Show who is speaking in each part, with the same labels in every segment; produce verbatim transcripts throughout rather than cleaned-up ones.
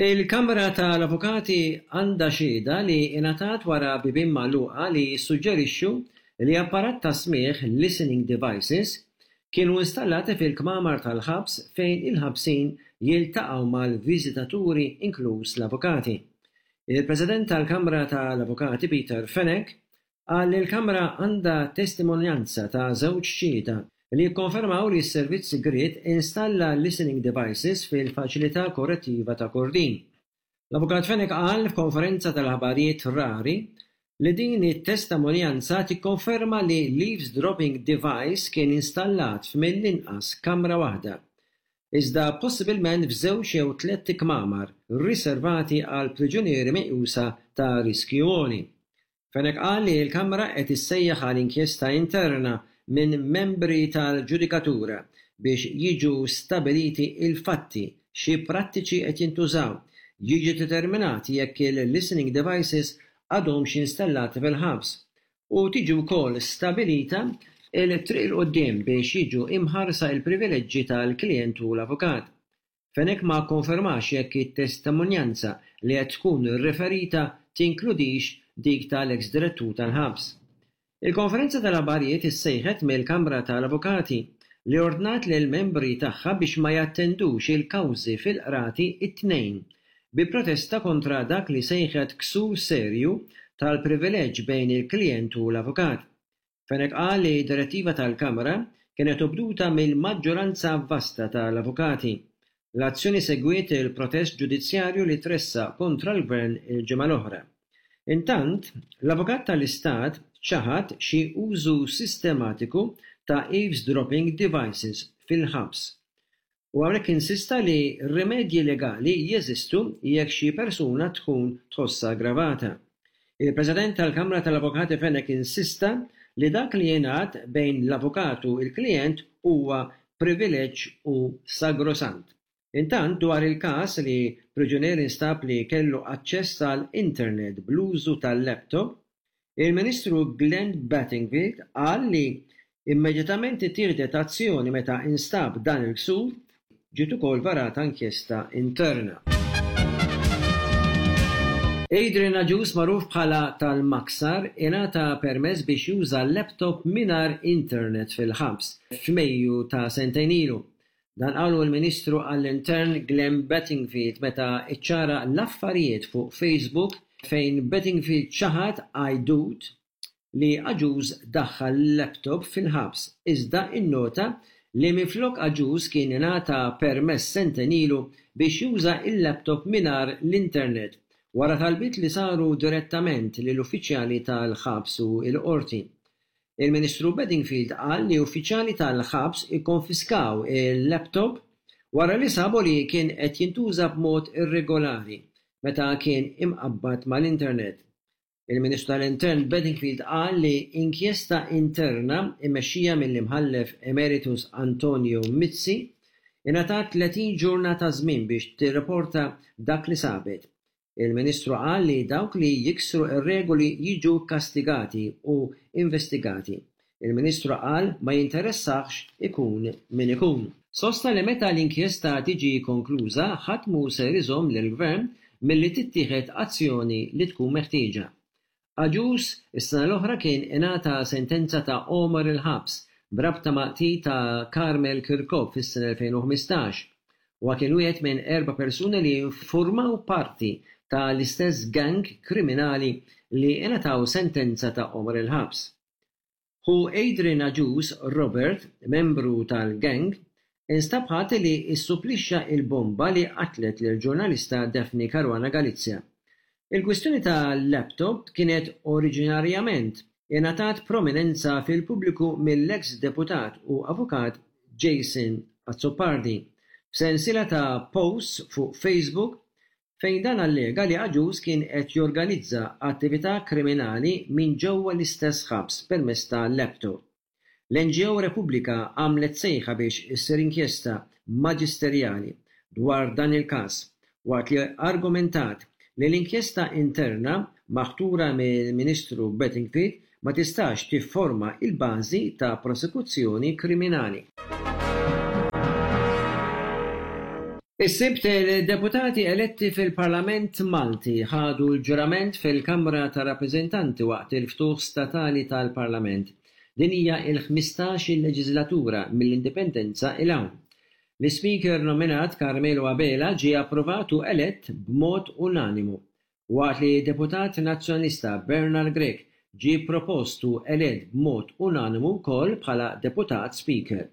Speaker 1: Il-Kamra tal-Avukati għandha xhieda li ingħatat wara bibien magħluqa li jissuġġerixxu li apparat ta' smigħ, listening devices, kienu installati fil-kmamar tal-ħabs fejn il-ħabsin jiltaqgħu mal-viżitaturi, inkluż l-avukati. Il-President tal-Kamra tal-Avukati Peter Fenech qal li l-Kamra għandha testimonjanza ta' żewġ xhieda li jikkonfermaw li s-servizz sigriet installa listening devices fil-faċilità korrettiva ta' Kordin. L-Avukat Fenech qal f'konferenza tal-aħbarijiet rari li din it-testimonjanza tikkonferma li l-eavesdropping device kien installat f'mill-inqas kamra waħda, iżda possibilment f'żewġ jew tlett ikmamar riservati għal priġunieri meqjusa ta' riskju għoli. Fenech qal li l-Kamra qed issejjaħ għal inkjesta interna minn membri tal-ġudikatura biex jiġu stabiliti il-fatti, xi prattiċi qed jintużaw, jiġi determinat jekk il-listening devices għadhomx installati fil-ħabs u tiġi wkoll stabilita il-triq 'il quddiem biex jiġu imħarsa il-privileġġi tal-klijent u l-avukat. Fenech ma konfermax jekk it-testimonjanza li qed tkun riferita tinkludix dik tal-ex direttur tal-ħabs. Il-konferenza tal-aħbarijiet issejħet mill-Kamra tal-Avukati li ordnat lil membri tagħha biex ma jattendux il-kawżi fil-qrati it-Tnejn bi protesta kontra dak li sejħet ksur serju tal-privileġġ bejn il-klijent u l-avukat. Fenech qal li direttiva tal-Kamra kienet obduta mill-maġġoranza vasta tal-avukati. L-azzjoni segwiet il-protest ġudizzjarju li tressaq kontra l-Gvern il-ġimgħa l-oħra. Intant, l-Avukat tal-Istat ċaħad xi użu sistematiku ta' eavesdropping devices fil-ħabs. U hawnhekk insista li rimedji legali jeżistu jekk xi persuna tkun tħossha aggravata. Il-President tal-Kamra tal-Avukati Fenech insista li dak li jingħad bejn l-avukat u l-klijent huwa privileġġ u sagrosant. Intant, dwar il-każ li priġunier instab li kellu aċċess għal internet bl-użu tal-laptop, il-Ministru Glenn Bedingfield qal li immedjatament ittieħdet azzjoni meta instab dan il-ksur, ġiet ukoll varata inkjesta interna. Adrian Agius, magħruf bħala tal-Maksar, ingħata permess biex juża laptop mingħajr internet fil-ħabs f'Mejju ta' sentejn ilu. Dan qalu l-Ministru għall-Intern Glenn Bedingfield meta iċċara l-affarijiet fuq Facebook, fejn Bedingfield ċaħad għajdut li Agius daħħal laptop fil-ħabs, iżda innota li minflok Agius kien ingħata permess sentejn ilu biex juża il-laptop mingħajr l-internet wara talbiet li saru direttament lill-uffiċjali tal-ħabs u l-qorti. Il-Ministru Bedingfield qal li uffiċjali tal-ħabs ikkonfiskaw il-laptop wara li sabu li kien qed jintuża b'mod irregolari meta kien imqabbad mal-internet. Il-Ministru tal-Intern Bedingfield qal li inkjesta interna immexxija mill-Imħallef Emeritus Antonio Mizzi ingħatat tletin ġurnata żmien biex tirrapporta dak li sabet. Il-Ministru qal li dawk li jiksru r-regoli jiġu kastigati u investigati. Il-Ministru qal ma jinteressax ikun min ikun. Sostna li meta l-inkjesta tiġi konkluża, ħadd mhu ser iżomm lill-Gvern milli tittieħed azzjoni li tkun meħtieġa. Agius is-sena l-oħra kien ingħata sentenza ta' għomor il-ħabs b'rabta ma' qtil ta' Carmel Chircop fis-sena elfejn u ħmistax. Huwa kien wieħed minn erba' persuni li formaw parti ta' l-istess gang kriminali li ingħataw sentenza ta' għomor il-ħabs. Ħu Adrian Agius, Robert, membru tal-gang, instab ħati li issupplixxa il-bomba li qatlet lil ġurnalista Daphne Caruana Galizia. Il-kwistjoni ta' laptop kienet oriġinarjament ingħatat prominenza fil-pubbliku mill-ex deputat u avukat Jason Azzopardi f'sensiela ta' posts fuq Facebook fejn dan allega li Agius kien qed jorganizza attività kriminali minn ġewwa l-istess ħabs permezz ta' laptop. L-N G O Repubblika għamlet sejħa biex issir inkjesta maġisterjali dwar dan il-każ, waqt li argumentat li l-inkjesta interna maħtura mill-Ministru Bedingfield ma tistax tifforma il-bażi ta' prosekuzzjoni kriminali. Is-Sibt il-deputati eletti fil-Parlament Malti ħadu l-ġurament fil-Kamra ta' Rappreżentanti waqt il-ftuħ statali tal-Parlament. Din hija il-ħmistax-il leġislatura mill-Indipendenza 'l hawn. L-Ispeaker nominat Carmelo Abela ġie approvat u elett b'mod unanimu, waqt li deputat Nazzjonalista Bernard Grech ġie propost u elett b'mod unanimu wkoll bħala deputat Speaker.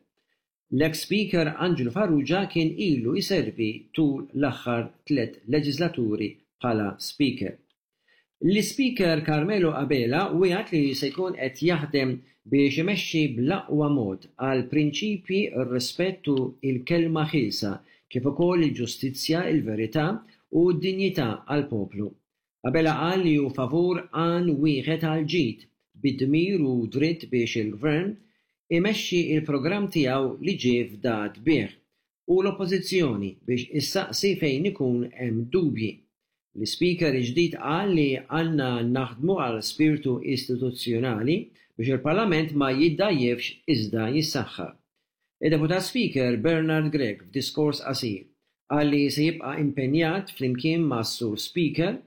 Speaker 1: L-ex Speaker Anġlu Farrugia kien ilu jservi tul l-aħħar tliet leġislaturi bħala Speaker. L-Ispeaker Carmelo Abela wiegħed li se jkun qed jaħdem biex imexxi bl-aqwa mod għal prinċipji, r-rispett u l-kelma ħielsa, kif ukoll il-ġustizzja, il-verità u d-dinjità għall-poplu. Abela qal li hu favur għan wieħed għall-ġid, bid-dmir u dritt biex il-Gvern imexxi il-programm tiegħu li ġie fdat bih u l-Oppożizzjoni biex issaqsi fejn ikun hemm dubji. L-Ispeaker il-ġdid qal li għandna naħdmu għal spiritu istituzzjonali biex il-Parlament ma jiddgħajjefx iżda jissaħħaħ. Il-Deputat Speaker Bernard Grech, f'diskors qasir, qal li se jibqa' impenjat flimkien ma' Sur Speaker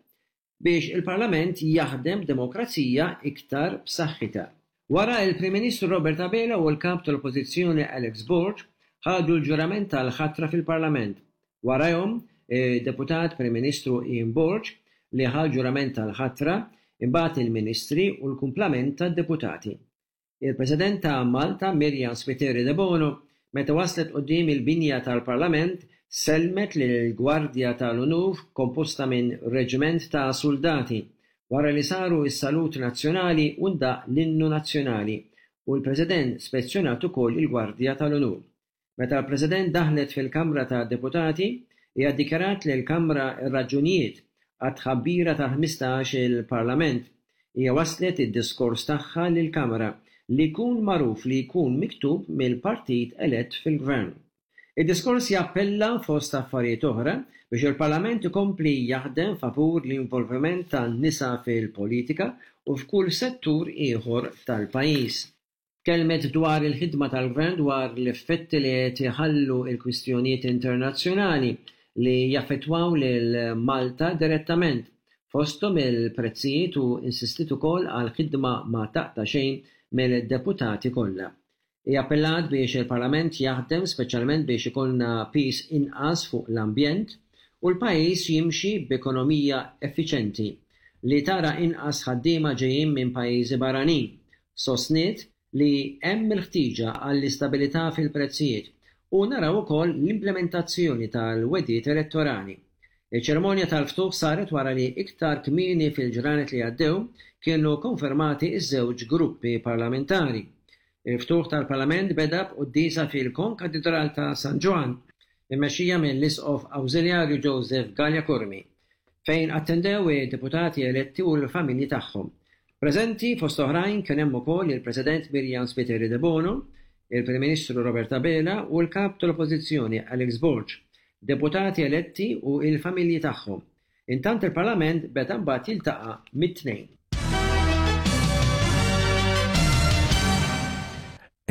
Speaker 1: biex il-Parlament jaħdem demokrazija iktar b'saħħitha. Wara, il-Prim Ministru Robert Abela u l-Kap tal-Oppożizzjoni Alex Borg ħadu l-ġurament tal-ħatra fil-Parlament. Warajhom deputat Prim Ministru Ian Borg li ħa l-ġurament tal-ħatra, imbagħad il-Ministri u l-kumplament tad-deputati. Il-President ta' Malta Myriam Spiteri Debono, meta waslet quddiem il-binja tal-Parlament, selmet lill-Gwardja tal-Unur komposta minn reġiment ta' soldati wara li saru s-salut nazzjonali u ndaq l-innu nazzjonali u l-President spezzjonat ukoll il-Gwardja tal-Unur. Meta l-President daħlet fil-Kamra ta' Deputati, hija ddikjarat lill-Kamra r-raġunijiet għat-tħabbira tal-ħmistax il-Parlament. Hija waslet id-diskors tagħha lill-Kamra li jkun magħruf li jkun miktub mill-partit elett fil-Gvern. Id-diskors jappella, fost affarijiet oħra, biex il-Parlament ikompli jaħdem favur l-involviment tan-nisa fil-politika u f'kull settur ieħor tal-pajjiż. Tkellmet dwar il-ħidma tal-Gvern, dwar l-effetti li qed iħallu l-kwistjonijiet internazzjonali li jaffettwaw lil Malta direttament, fosthom il-prezzijiet, u insistit ukoll għal ħidma ma taqta' xejn mill-deputati kollha. Hija appellat biex il-Parlament jaħdem speċjalment biex ikollna piż inqas fuq l-ambjent u l-pajjiż jimxi b'ekonomija effiċjenti li tara inqas ħaddiema ġejjin minn pajjiżi barranin. Sostniet li hemm il-ħtieġa għall-istabilità fil-prezzijiet u naraw ukoll l-implementazzjoni tal-wegħdiet elettorali. Iċ-ċerimonja tal-ftuħ saret wara li iktar kmieni fil-ġranet li għaddew kienu konfermati iż-żewġ gruppi parlamentari. Il-ftuħ tal-Parlament beda b'quddiesa fil-Konkatedral ta' San Ġwann, immexxija mill-Isqof Awżiljarju Joseph Galea Curmi, fejn attendew id-deputati eletti u l-familji tagħhom. Preżenti fost oħrajn kien hemm ukoll il-President Myriam Spiteri Debono, il-Prim Ministru Robert Abela u l-Kap tal-Oppożizzjoni Alex Borg, deputati eletti u l-familji tagħhom. Intant il-Parlament beda mbagħad jiltaqa' mit-Tnejn.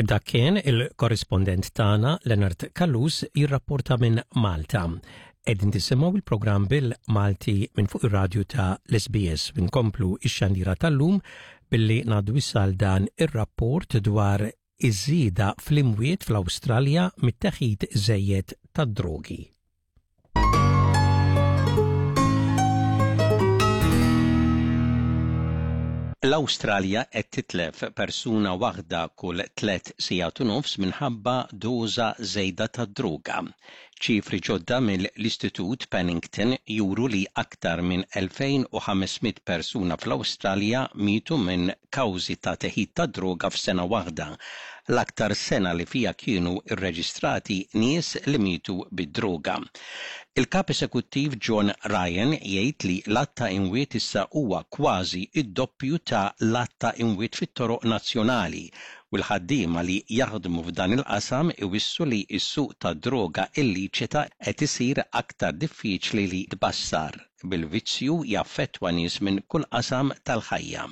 Speaker 2: Dak kien il-korrispondent tagħna Leonard Callus jirrapporta minn Malta. Qegħdin tisimgħu il-programm bil-Malti minn fuq ir-radju ta' l-S B S. Nkomplu ix-xandira tal-lum billi ngħaddu issa dan ir-rapport dwar iż-żieda fl-imwiet fl-Awstralja mit-teħid żejjed tad-drogi.
Speaker 3: L-Awstralja qed titlef persuna waħda kull tliet sigħat u nofs minħabba doża żejda ta' droga. Ċifri ġodda mill-Istitut Pennington juru li aktar minn elfejn u ħames mitt persuna fl-Awstralja mietu minn kawżi ta' teħid ta' droga f'sena waħda, l-aktar sena li fija kienu irreġistrati nies li mietu bid-droga. Il-kap esekuttiv John Ryan jgħid li l-għadd ta' imwiet issa huwa kważi id-doppju ta' l-għadd ta' imwiet fit-toroq nazzjonali, u l-ħaddiema li jaħdmu f'dan il-qasam iwissu li s-suq ta' droga illiċita qed isir aktar diffiċli li tbassar, bil-vizzju jaffettwa nies minn kull qasam tal-ħajja.